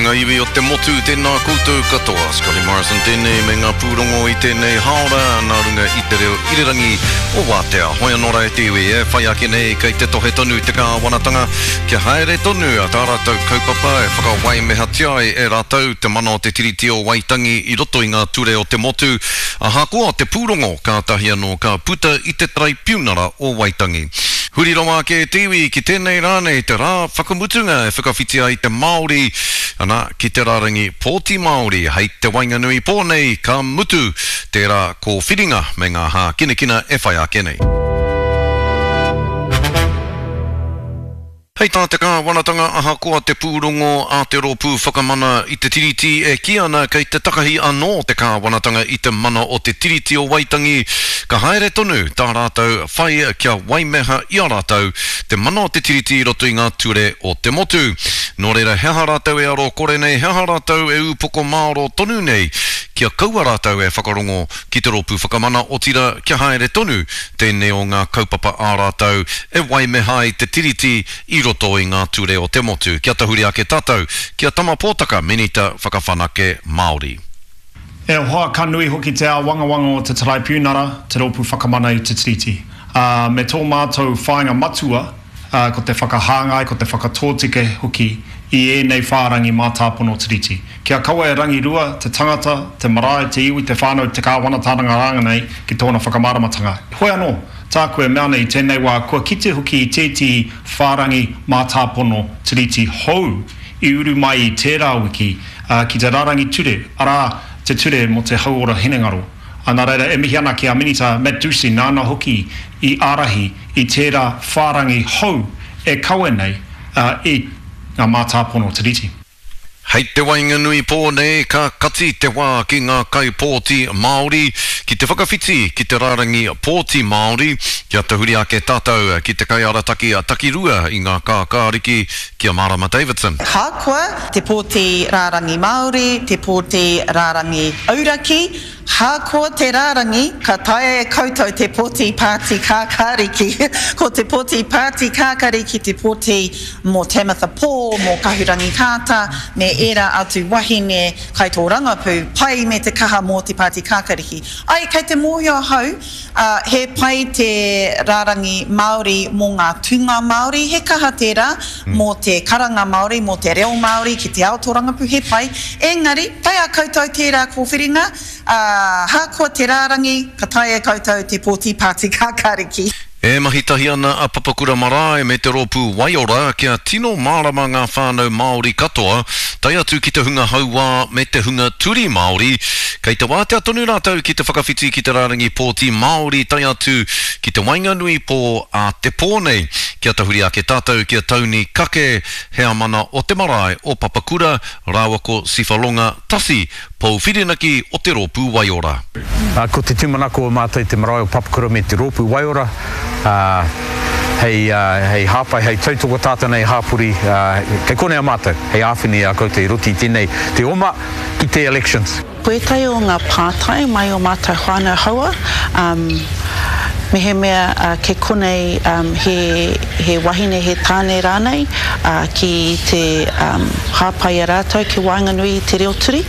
Ngā iwi o te motu, tēnā koutou katoa. Scotty Morrison tēnei me ngā pūrongo i tēnei hāora nā runga i te reo irirangi o Wātea. Hoi anō rā e te iwi, e whai ake nei kei te tohe tonu te kāwanatanga kia haere tonu tā rātou kaupapa e whakawaimehatia ai e rātou te mana o te Tiriti o Waitangi i roto i ngā ture o te motu, ahakoa te pūrongo kātahi anō ka puta i te Taraipiunara o Waitangi. Huri rawa ake e te iwi ki tēnei rā nei te rā whakamutunga e whakawhiti ai te Māori, ana, ki te rārangi pōti Māori hei te waenganui pō nei ka mutu tērā kōwhiringa me ngā hākinakina e whai ake nei. Hei tā te kāwanatanga ahakoa te pūrongo a te Rōpū Whakamana i te Tiriti e kī ana kei te takahi anō te kāwanatanga i te mana o te Tiriti o Waitangi, ka haere tonu tā rātou whai kia waimeha i a rātou te mana o te Tiriti i roto i ngā ture o te motu. Nō reira he aha rātou e aro kore nei, he aha rātou e ūpoko mārō tonu nei kia kaua rātou e whakarongo ki te Rōpū Whakamana, otirā kia haere tonu tēnei o ngā kaupapa ā rātou e waimeha ai te Tiriti i roto i ngā ture o te motu. Kia tahuri ake tātou ki a Tama Pōtaka, Minita Whakawhanake Māori. E hoa, ka nui hoki te āwangawanga o te Taraipiunara, te Rōpū Whakamana i te Tiriti. Ā, me tō mātou whāinga matua, ā, ko te whakahāngai, ko te whakatōtika hoki i ēnei whārangi mātāpono Tiriti. Kia kaua e rangirua te tangata, te marae, te iwi, te whānau, te kāwanatanga rānei ki tōna whakamāramatanga. Heoi anō, tāku e mea ana i tēnei wā, kua kite hoki i tētehi whārangi mātāpono Tiriti hou i uru mai i tērā wiki ki te rārangi ture, arā, te Ture mō te Hauora Hinengaro. Nā reira, e mihi ana ki a Minita Matt Doocey nāna hoki i ārahi i tērā whārangi hou e kawe nei i ngā mātāpono Tiriti. Hei te waenganui pō nei ka kati te wā ki ngā kaipōti Māori ki te whakawhiti ki te rārangi pōti Māori kia tahuri ake tātou ki te kaiarataki takirua i ngā kākāriki ki a Marama Davidson. Ahakoa te pōti rārangi Māori, te pōti rārangi auraki, Hākoa te rārangi, ka taea e koutou te pōti Pāti Kākāriki. Ko te pōti Pāti Kākariki te pōti mō Tamatha Paul, mō Kahurangi Kāta, me ērā atu wahine kaitōrangapū pai me te kaha mō te Pāti Kākariki. Ai, kei te mōhio ahau, ā, he pai te rārangi Māori mō ngā tūnga Māori, he kaha tērā mō te karanga Māori, mō te reo Māori ki te ao tōrangapū, he pai. Engari, kei a koutou tērā kōwhiringa, ā, ahakoa te rārangi, ka taea e koutou te pōti Pāti Kākāriki. E mahi tahi ana a Papakura Marae me te rōpū Waiora kia tino mārama ngā whānau Māori katoa, tae atu ki te hunga hauā me te hunga turi Māori, kei te wātea tonu rātou ki te whakawhiti ki te rārangi pōti Māori tae atu ki te waenganui pō a te pō nei. Kia tahuri ake tātou ki a Tauni Kake, heamana o te marae o Papakura, rāua ko Sifalonga Tasi, pou whirinaki o te Rōpū Waiora. Ko te tūmanako o mātou i te marae o Papakura me te Rōpū Waiora, hei, hei hāpai, hei tautoko tātou nei hāpori, kei konei a mātou, hei āwhina i a koutou i roto i tēnei, te oma ki te elections. Ko ētahi o ngā pātai mai o mātou whānau haua, mehemea kei konei he, he wahine, he tāne rānei, ki te hāpai i a rātou ki waenganui i te reo turi.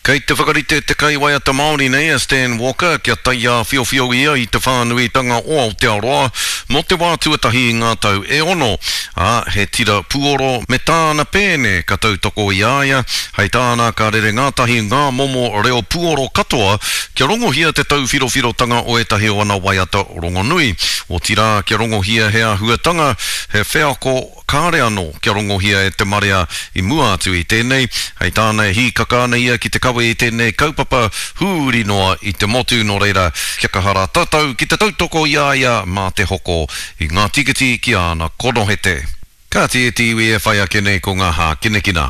Kei te whakarite te kaiwaiata Māori nei a Stan Walker kia taiāwhiowhio ia i te whānuitanga o Aotearoa mō te wā tuatahi i ngā tau e ono, ā, he tira puoro me tāna pēne ka tautoko i a ia. Hei tāna ka rere ngātahi ngā momo reo puoro katoa kia rongohia te tauwhirowhirotanga o ētahi o ana waiata rongonui, otirā kia rongohia he āhuatanga, he wheako kāre anō kia rongohia e te marea i mua atu i tēnei. Hei tāna e hīkaka ana ia ki te kawe i tēnei kaupapa huri noa i te motu, nō reira kia kaha rā tātou ki te tautoko i a ia mā te hoko i ngā tīkiti ki āna konohete. Kāti e te iwi e whai ake nei ko ngā hākinakina.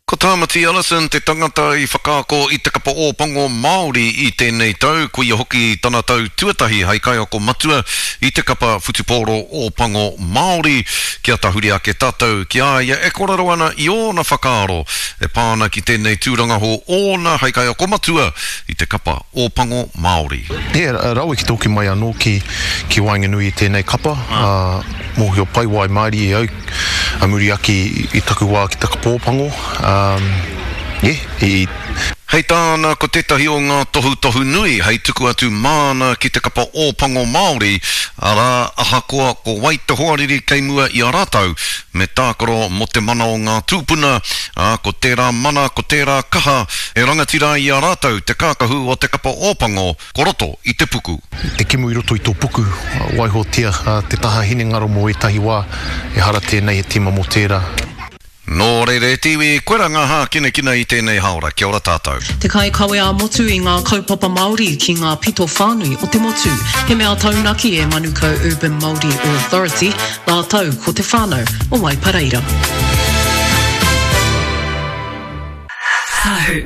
Ko. Tāmati Ellison te tangata i whakaako i te kapa Ōpango Māori i tēnei tau, koia hoki tana tau tuatahi hei kaiako matua i te kapa whutupōro Ōpango Māori. Kia tahuri ake tātou ki a ia e kōrero ana i ōna whakaaro e pā ana ki tēnei tūranga hou ōna hei kaiako matua i te kapa Ōpango Māori. He rawe ki te hoki mai anō ki ki waenganui i tēnei kapa, ā, mōhio pai waimarie au a muri ake i taku wā ki te kapa Ōpango, ā, yeah, i. Hei tāna, ko tētahi o ngā tohutohu nui hei tuku atu māna ki te kapa Ōpango Māori, arā, ahakoa ko wai te hoariri kei mua i a rātou, me tākaro mō te mana o ngā tūpuna, ā, ko tērā mana, ko tērā kaha e rangatira ai i a rātou te kākahu o te kapa Ōpango ko roto i te puku. Te kemu i roto i tō puku, waihotia te taha hinengaro mō ētahi wā, ehara tēnei he tīma mō tērā. Nō reira e te iwi, koira ngā hākinakina i tēnei haora, kia ora tātou. Te kaikawe ā-motu i ngā kaupapa Māori ki ngā pito whānui o te motu. He mea taunaki e Manukau Urban Māori Authority rātou ko te whānau o Waipareira. Tahu.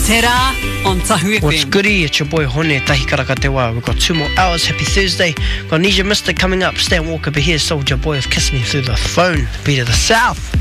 Te rā on Tahu FM. What's goody? It's your boy Hone Tahi Karaka Te Wā. We've got two more hours. Happy Thursday. Got Nisha Mister coming up. Stan Walker, but here's Soulja Boy with Kiss Me Through the Phone. The beat of the South.